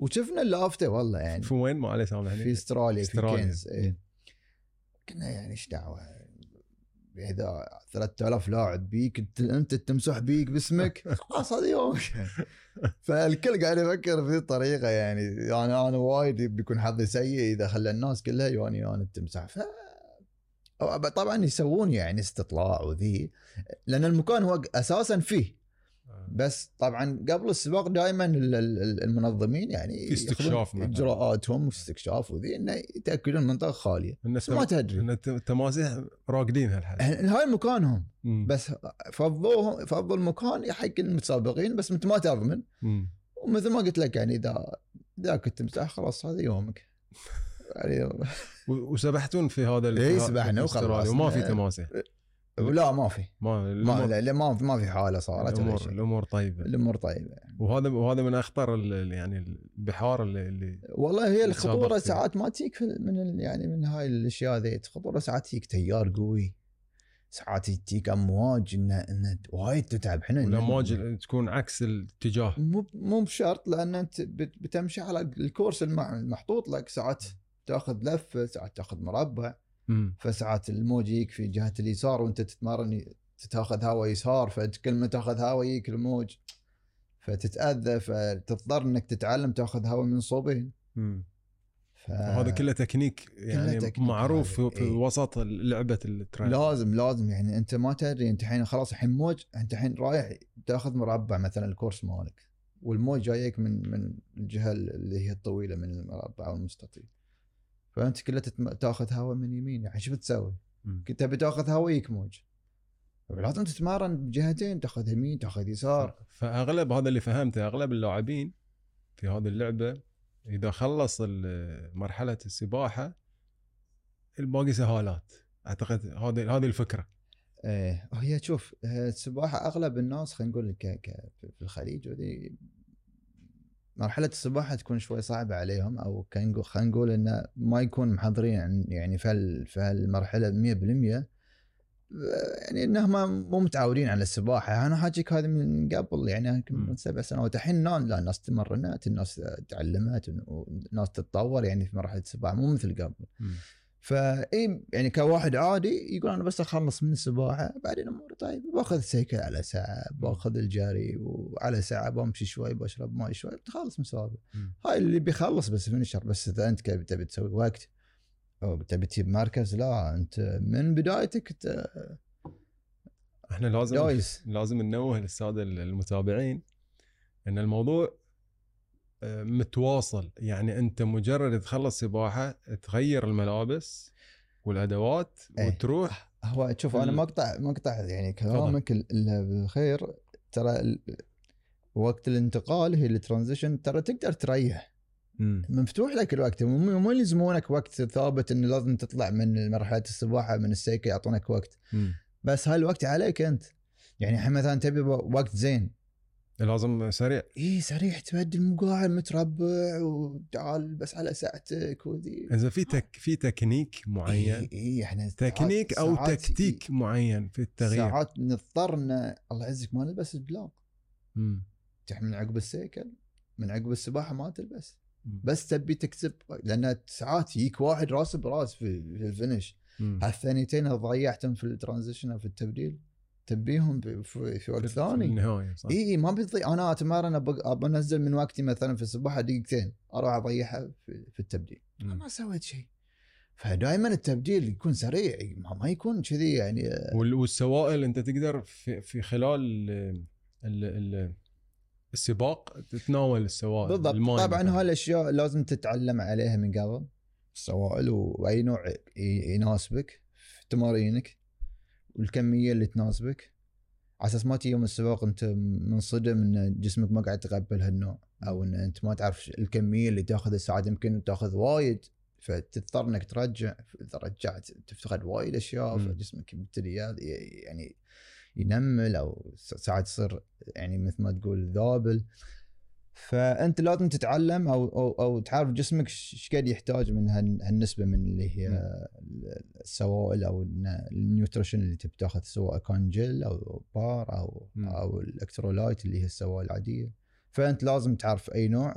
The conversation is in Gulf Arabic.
وشفنا اللافته والله يعني. في وين ما عليه سامحني؟ في استراليا. في كينز. إيه. كنا يعني ايش دعوه اذا 3000 لاعب بيك انت تمسح بيك باسمك خلاص هذا يومك. فالكل قاعد يفكر في طريقه يعني انا وايد بيكون حظي سيء اذا خلى الناس كلها يواني انا تمسح. طبعا يسوون يعني استطلاع وذي لان المكان هو اساسا فيه، بس طبعا قبل السباق دائما المنظمين يعني في استكشاف اجراءاتهم واستكشاف وذي انه يتاكدون المنطقه خاليه. بس ما تدري ان التماسيح راقدين هاي مكانهم. بس فضوا المكان حق المتسابقين، بس انت ما تضمن. ومثل ما قلت لك يعني اذا كنت تمسح خلاص هذا يومك يعني. وسبحتون في هذا سبحنا وخلاص وما في تماسيح. لا ما في ما في حاله صارت. الامور طيبه وهذا من اخطر يعني البحار اللي والله هي الخطوره ساعات ما تجيك من هاي الاشياء ذي. خطوره ساعات تجيك تيار قوي، ساعات تجيك امواج ان وايد تتعب. احنا والامواج تكون عكس الاتجاه، مو بشرط، لان انت بتمشي على الكورس المحطوط لك. ساعات تاخذ لفه، ساعات تاخذ مربع. فساعات الموج يجيك في جهة اليسار وانت تتمرن تاخذ هواء يسار، فكل ما تاخذ هواء يجيك الموج فتتأذى، فتضطر انك تتعلم تاخذ هواء من صوبين. هذا كله تكنيك يعني معروف في وسط لعبة الترين. لازم يعني انت ما تدري انت الحين خلاص الحين موج، انت الحين رايح تاخذ مربع مثلا الكورس مالك، والموج جايك من الجهة اللي هي الطويلة من المربع او المستطيل، فانت كله تاخذ هواء من يمين. يعني شو بتسوي؟ كنت بتاخذ هواء يك موج، لازم تتمرن بجهتين، تاخذ يمين تاخذ يسار. فاغلب هذا اللي فهمته، اغلب اللاعبين في هذه اللعبه اذا خلص مرحله السباحه الباقي سهالات. اعتقد هذه الفكره. ايه هي شوف السباحه اغلب الناس خلينا نقول في الخليج ودي مرحلة السباحة تكون شوي صعبة عليهم، أو خلينا نقول إنه ما يكون محضرين يعني في هالمرحلة 100%، يعني إنهم مو متعودين على السباحة. أنا حاجيك هذا من قبل يعني من 7 سنوات. الحين لا الناس تمرنت، الناس تعلمت، والناس تتطور يعني في مرحلة السباحة مو مثل قبل. فاي يعني كواحد عادي يقول انا بس اخلص من السباحه بعدين اموري طيب، باخذ سيكل على ساعه، باخذ الجري وعلى ساعه بمشي شوي، بشرب ماي شوي، بتخلص مسابقه. هاي اللي بيخلص بس فينيشر. بس اذا انت تبي تسوي وقت او تبي تجيب مركز، لا انت من بدايتك احنا لازم ننوه للساده المتابعين ان الموضوع متواصل. يعني انت مجرد تخلص سباحه تغير الملابس والادوات وتروح. هو شوف انا مقطع يعني كلامك الا بالخير. ترى وقت الانتقال هي الترانزيشن ترى تقدر تريح، مفتوح لك الوقت. مو يلزمونك وقت ثابت انه لازم تطلع من مرحله السباحه من السيكل يعطونك وقت. بس هالوقت عليك انت. يعني مثلا تبي وقت زين لازم سريع. سريع، تبدل مقاعد متربع وتعال بس على ساعتك وذي. اذا في تكنيك معين احنا تكنيك او تكتيك معين في التغيير. ساعات نضطرنا الله يعزك ما نلبس الجلاب. من عقب السيكل من عقب السباحه ما تلبس. بس تبي تكسب، لان ساعات يجيك واحد راس براس في الفينش. هالثانيتين ضيعتهم في الترانزيشن او في التبديل تبيهم في وقت ثاني. ما بيضيع. انا اتمرن ابى انزل من وقتي مثلا في السباحه دقيقتين، اروح اضيعها في التبديل. ما سويت شيء. فدائما التبديل يكون سريع، ما يكون كذي يعني. والسوائل انت تقدر في خلال السباق تتناول السوائل بالضبط. طبعا هالاشياء لازم تتعلم عليها من قبل، السوائل واي نوع يناسبك في تمارينك والكميه اللي تناسبك، على اساس ما تيجي يوم السباق انت منصدم ان جسمك ما قاعد يتقبل هالنوع، او ان انت ما تعرف الكميه اللي تاخذ الساعات يمكن تاخذ وايد، فتضطر انك ترجع. اذا رجعت تفتقد وايد اشياء، فجسمك يبتدي يعني ينمل، او ساعات تصير يعني مثل ما تقول ذابل. فانت لازم تتعلم او تعرف جسمك ايش قاعد يحتاج من هالنسبه من اللي هي السوائل او النيوتريشن اللي تبي تاخذ، سواء كان جل او بار او الالكترولايت اللي هي السوائل العاديه. فانت لازم تعرف اي نوع